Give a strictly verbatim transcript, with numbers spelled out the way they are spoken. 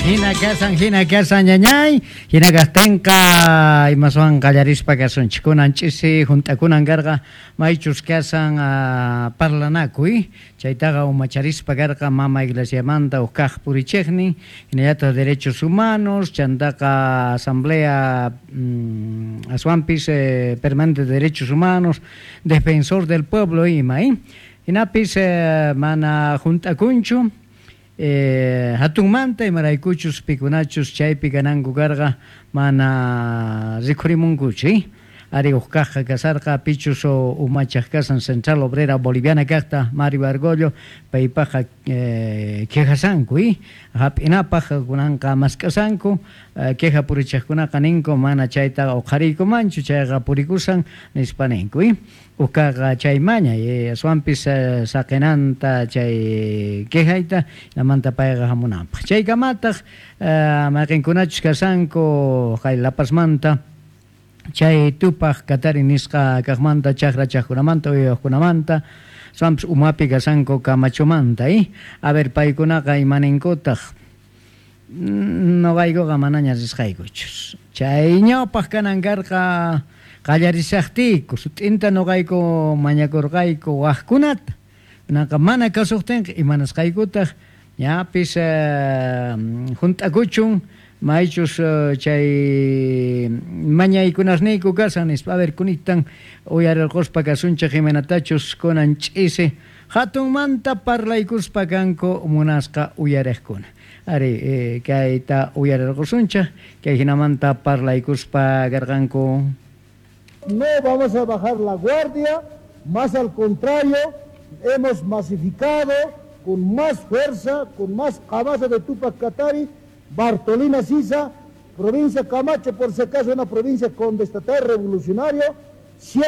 Hina kasan, hina kasan ñañay, hina kaqtinqa imaswan qallarispa kasunchik. Kunan ch'isi hunt'akunan karqa maychus kasan uh, parlanakuy, chaytaqa umacharispa karqa mama iglesiamanta huk kaq purichiqnin, hinallataq derechos humanos, chantaqa asamblea mm, aswanpis eh, permanente de derechos humanos, defensor del pueblo ima, eh? Hinapis eh, mana hunt'akunchu, Eh, hatunmanta imaraykuchus pikunachus chaypi kananku karqa mana rikhurimunkuchu eh? Ari huk kaqqa kasarqa pichus umachaq kasan Central Obrera Boliviana kaqta Mario Argollo paypaqa eh, quejasanku eh? Hap'inapaq kunanqa mask'asanku eh, queja purichaqkunaqa ninku mana chayta uqhariykumanchu chayqa purikusan nispa ninku eh? Ukaqa chay mañay eh, aswanpis eh, saqinanta chay quejayta namanta payqa hamunanpaq chaykamataq eh, mayqinkunachus kasanku kay La Pazmanta chay Tupaj Katari nisqa kaqmanta chaqra chaqkunamanta uywaqkunamanta aswanpis umapi kasanku Camachomanta eh? A ver paykunaqa imaninkutaq noqaykuqa manaña risqaykuchus chay ñawpaq kanan karqa qallarishaqtiyku sut'inta noqayku mañakurqayku waqkunata naqa mana kasuqtinqa imanasqaykutaq ñapis eh, hunt'akuchun maychus chay mañaykunasniyku kasan nispa. A ver kunitan uyarirquspa kasunchik imaynatachus kunan ch'isi hatunmanta parlaykuspa kanku munasqa uyariqkuna. Ari eh, kayta uyarirqusunchik kay hinamanta parlaykuspa karqanku. No vamos a bajar la guardia, más al contrario, hemos masificado con más fuerza, con más cabeza de Tupac Katari, Bartolina Sisa, provincia Camacho, por si acaso una provincia contestataria revolucionario.